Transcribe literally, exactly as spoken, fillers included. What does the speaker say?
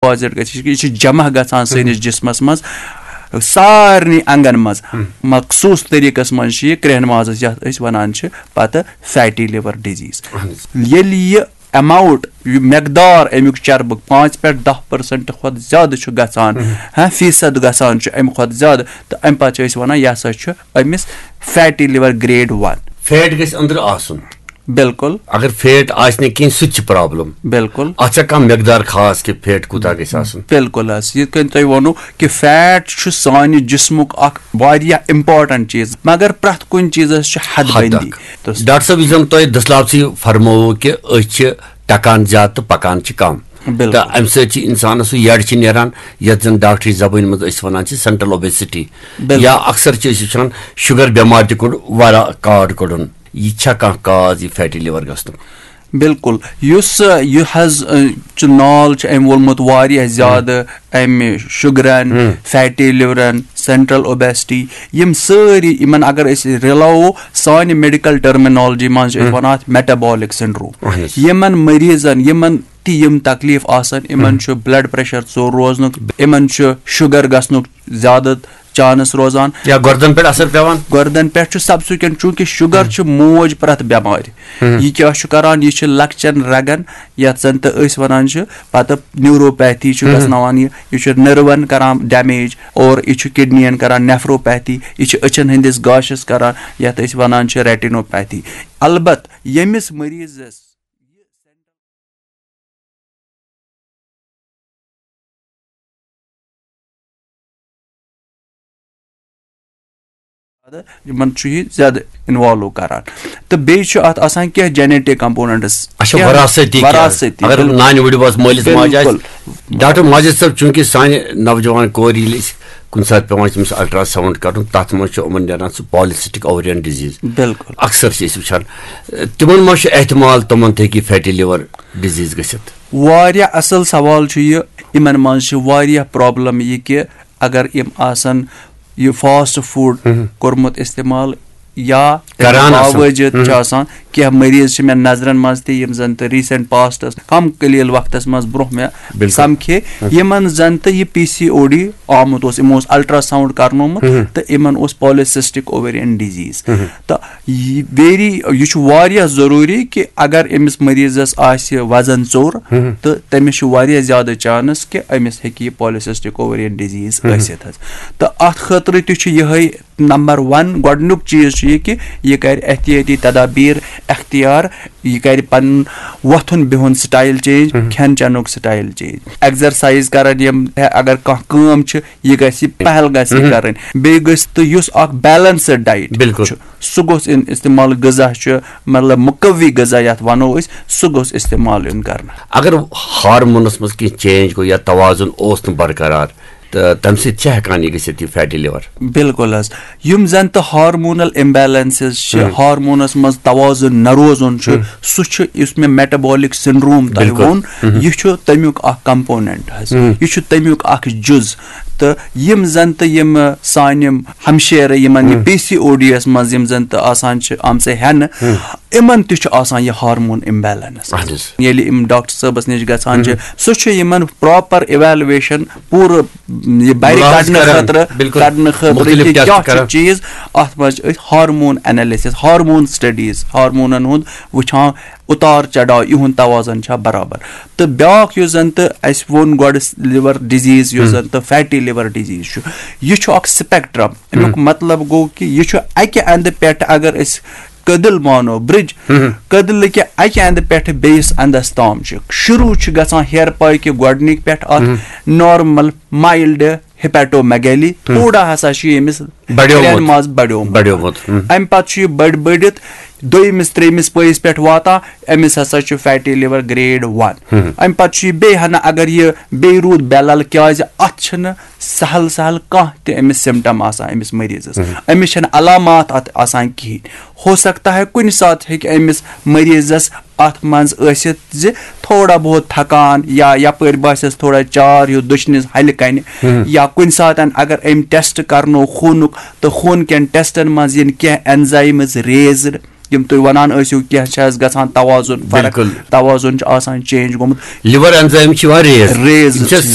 Deposit گژھِ، یہِ چھُ جمع گژھان سٲنِس جسمس منٛز، سارنٕے انگن منٛز۔ مخصوٗص طریٖقس منٛز چھُ یہِ کرٛیٚہن مازس، یتھ أسۍ ونان چھِ پتہٕ فیٹی لِور ڈِزیٖز۔ ییٚلہِ یہِ ایماؤنٹ، یہِ مقدار امیُک چربُک پانٛژِ پٮ۪ٹھ دَہ پٔرسنٹ کھۄتہٕ زیادٕ چھُ گژھان، ہاں، فیٖصد گژھان چھُ امہِ کھۄتہٕ زیادٕ، تہٕ امہِ پتہٕ چھِ أسۍ ونان، یہِ ہسا چھُ أمِس فیٹی لِور گریڈ ون۔ فیٹ گژھِ أنٛدرٕ آسُن۔ بالکل۔ اگر فیٹ آسہِ نہٕ کِہیٖنۍ، سُہ تہِ چھِ پرابلم۔ بالکل۔ اتھ چھا کانٛہہ مقدار خاص کہِ فیٹ کوٗتاہ گژھِ آسُن؟ بالکل حظ، یِتھ کٔنۍ تۄہہِ ووٚنوُ کہِ فیٹ چھُ سانہِ جسمُک اکھ واریاہ امپورٹنٹ چیٖز، مگر پرٛٮ۪تھ کُنہِ چیٖزس چھِ حد حد بندی۔ اکھ۔ تہٕ ڈاکٹر صٲب، یُس زن تۄہہِ دٔسلابسٕے فرمووُ کہِ أسۍ چھِ ٹکان زیادٕ تہٕ پکان چھِ کم۔ بالکل۔ تہٕ امہِ سۭتۍ چھِ انسانس سُہ یڈ چھِ نیران، یتھ زن ڈاکٹری زبٲنۍ منٛز أسۍ ونان چھِ سینٹرل اوبیسٹی۔ بالکل۔ یا اکثر چھِ أسۍ وٕچھان شُگر بٮ۪مارِ تہِ کوٚڑ واریاہ کارڈ کوٚڑُن۔ یہِ چھا کانٛہہ کاز یہِ فیٹی لِور گژھنُک؟ بالکل۔ یُس، آ، یہِ حظ، آ، چھُ نال چھُ أمۍ وولمُت واریاہ زیادٕ، امہِ شُگرن، فیٹی لِورن، سینٹرل اوبیسٹی، یِم سٲری، یِمن اگر أسۍ رلاوو، سانہِ میڈیکل ٹرمینالجی منٛز چھِ أسۍ ونان اتھ میٹابولک سنڈروم۔ اہن حظ۔ یِمن مریضن، یِمن تہِ یِم تکلیف آسن، یِمن چھُ بلڈ پریشر ژوٚر روزنُک، یِمن چھُ شُگر گژھنُک زیادٕ چانس روزان۔ یا گردن پٮ۪ٹھ اثر پٮ۪وان؟ گردن پٮ۪ٹھ چھُ سبسیکوینٹ، چونکہ شُگر چھُ موج پرٛٮ۪تھ بٮ۪مارِ۔ یہِ کیٛاہ چھُ کران؟ یہِ چھُ لۄکچٮ۪ن رگن، یتھ زن تہٕ أسۍ ونان چھِ پتہٕ نیوروپیتھی چھُ گژھناوان یہِ، یہِ چھُ نٔروَن کران ڈیمیج، اور یہِ چھُ کڈنین کران نیفروپیتھی، یہِ چھُ أچھن ہٕنٛدِس گاشس کران، یتھ أسۍ ونان چھِ ریٹینوپیتھی۔ البتہ ییٚمِس مریضس یِمن چھُ یہِ زیادٕ انوالو کران۔ تہٕ بیٚیہِ چھُ اتھ آسان کینٛہہ جینیٹک کمپوننٹس، اچھا، کینٛہہ وراثتی تہِ۔ وراثتی، اگر بِلکُل۔ نانہِ وٕڈِ وٲژ مٲلِس ماجہِ آسہِ، بِلکُل۔ ڈاکٹر ماجد صٲب، چوٗنٛکہِ سانہِ نوجوان کورِ ییٚلہِ أسۍ کُنہِ ساتہٕ پٮ۪وان چھِ تٔمِس الٹرا ساؤنڈ کرُن، تتھ منٛز چھُ یِمن نیران سُہ پالیسسٹک اوویرین ڈِزیٖز۔ بِلکُل۔ اکثر چھِ أسۍ وٕچھان، تِمن منٛز چھُ احتمال تِمن تہِ ہیٚکہِ فیٹی لِور ڈِزیٖز گٔژھِتھ۔ واریاہ اصل سوال چھُ یہِ۔ یِمن منٛز چھِ واریاہ پرابلم یہِ کہِ اگر یِم آسن یہِ فاسٹ فوڈ کوٚرمُت استعمال یا تَمہِ کران آسن۔ باوجود چھِ آسان کینٛہہ مریض چھِ مےٚ نظرن منٛز تہِ یِم زن تہٕ ریسنٹ پاسٹس کم قلیل وقتس منٛز برونٛہہ مےٚ بِلکُل۔ سمکھے، یِمن زن تہٕ یہِ پی سی او ڈی آمُت اوس، یِمو اوس الٹرا ساؤنڈ کرنومُت تہٕ یِمن اوس پالیسسٹک اوویرین ڈِزیٖز۔ تہٕ یہِ ویری، یہِ چھُ واریاہ ضروٗری کہِ اگر أمِس مریضس آسہِ وزن ژوٚر تہٕ تٔمِس چھُ واریاہ زیادٕ چانس کہِ أمِس ہیٚکہِ یہِ پالیسسٹک اوویرین ڈِزیٖز ٲسِتھ حظ۔ تہٕ اتھ خٲطرٕ تہِ چھُ یِہے نمبر ون، گۄڈٕنیُک چیٖز چھُ یہِ کہِ یہِ کرِ احتیاطی تدابیر اختیار، یہِ کرِ پنُن وۄتھُن بِہُن سٹایل چینج، کھٮ۪ن چٮ۪نُک سٹایل چینج، ایگزرسایز کرن یِم، اگر کانٛہہ کٲم چھِ، یہِ گژھِ پہل گژھِ یہِ کرٕنۍ۔ بیٚیہِ گژھِ تہٕ یُس اکھ بیلنسڈ ڈایٹ بِلکُل۔ چھُ، سُہ گوٚژھ اِن-، استعمال غذا چھُ، مطلب مقوی غذا یتھ ونو أسۍ، سُہ گوٚژھ استعمال یُن کرنہٕ۔ اگر ہارمونس منٛز کینٛہہ چینج گوٚو یا توازن اوس نہٕ برقرار، تہٕ تمہِ سۭتۍ چھِ ہٮ۪کان یہِ گٔژھِتھ، یہِ فیٹی لِور؟ بِلکُل حظ۔ یِم زن تہٕ ہارمونل امبیلنسز چھِ، ہارمونس منٛز توازن نہ روزُن چھُ، سُہ چھُ یُس مےٚ میٹابولک سنڈروم تۄہہِ بِلکُل۔ ووٚن، یہِ چھُ تمیُک اکھ کمپوننٹ حظ، یہِ چھُ تمیُک اکھ جُز۔ تہٕ یِم زن تہٕ یِم سانہِ ہمشیرٕ یِمن یہِ پی سی او ڈی یس منٛز یِم زن تہٕ آسان چھِ آمژٕ ہٮ۪نہٕ، یِمن تہِ چھُ آسان یہِ ہارمون امبیلنس۔ اہن حظ۔ ییٚلہِ یِم ڈاکٹر صٲبس نِش گژھان چھِ، سُہ چھُ یِمن پراپر ایویلویشن پوٗرٕ یہِ بَرِ مُلاحظہٕ کَڑنہٕ کران، خٲطرٕ، بِلکُل۔ کَڑنہٕ خٲطرٕ مُختٔلِف کہِ ٹیسٹ کیٛاہ چھُ کران۔ چیٖز، اَتھ منٛز چھِ أسۍ ہارمون انیلسس، ہارمون سٹڈیٖز، ہارمونن ہُنٛد وٕچھان، اُتار چڑاو، یِہُنٛد توازن چھا برابر۔ تہٕ بیٛاکھ یُس زَن تہٕ اَسہِ ووٚن گۄڈٕ، لِور ڈِزیٖز یُس زَن تہٕ فیٹی لِور ڈِزیٖز چھُ، یہِ چھُ اکھ سپیکٹرم۔ اَمیُک مطلب گوٚو کہِ یہِ چھُ اَکہِ اَندٕ پٮ۪ٹھ، اگر أسۍ کٔدٕل مانو، برج، کٔدلہٕ کہِ اَکہِ اَندٕ پٮ۪ٹھٕ بیٚیِس اَندَس تام چھُ۔ شروٗع چھُ گژھان ہیرٕ پاے کہِ گۄڈٕنِکۍ پٮ۪ٹھ اَتھ نارمل، مایلڈ ہیپیٹومیگیلی، تھوڑا ہسا چھُ ییٚمِس بڑیومُت۔ کرٛٮ۪ن منٛز بڑیومُت۔ بڑیومُت۔ اَمہِ پتہٕ چھُ یہِ بٔڑۍ بٔڑِتھ دوٚیمِس، ترٛیٚیمِس پٲیِس پٮ۪ٹھ واتان، أمِس ہسا چھُ فیٹی لِور گریڈ ون۔ اَمہِ پتہٕ چھُ یہِ بیٚیہِ ہنا، اگر یہِ بیٚیہِ روٗد بے لل، کیازِ اَتھ چھِنہٕ سہل سہل کانٛہہ تہِ أمِس سِمٹم آسان أمِس مریضس۔ أمِس چھِنہٕ علامات اَتھ آسان کِہیٖنۍ۔ ہو سکتا ہے کُنہِ ساتہٕ ہیٚکہِ أمِس مریضس اَتھ منٛز ٲسِتھ زِ تھوڑا بہت تھکان یا یپٲرۍ باسٮ۪س تھوڑا چار ہیوٗ دٔچھنِس ہلہِ کنہِ، یا کُنہِ ساتہٕ اگر أمۍ ٹیسٹ کرنو خوٗنُک تہٕ خوٗن کٮ۪ن ٹیسٹن منٛز یِن کینٛہہ اینزایمز ریزڈ، یِم تُہۍ وَنان ٲسِو کینٛہہ چھِ اَسہِ گژھان توازُن فرق، بِلکُل۔ توازُن چھُ آسان چینج گوٚمُت۔ لِور اینزایم چھِ یِوان ریز، ریز یِم چھِ چھِ۔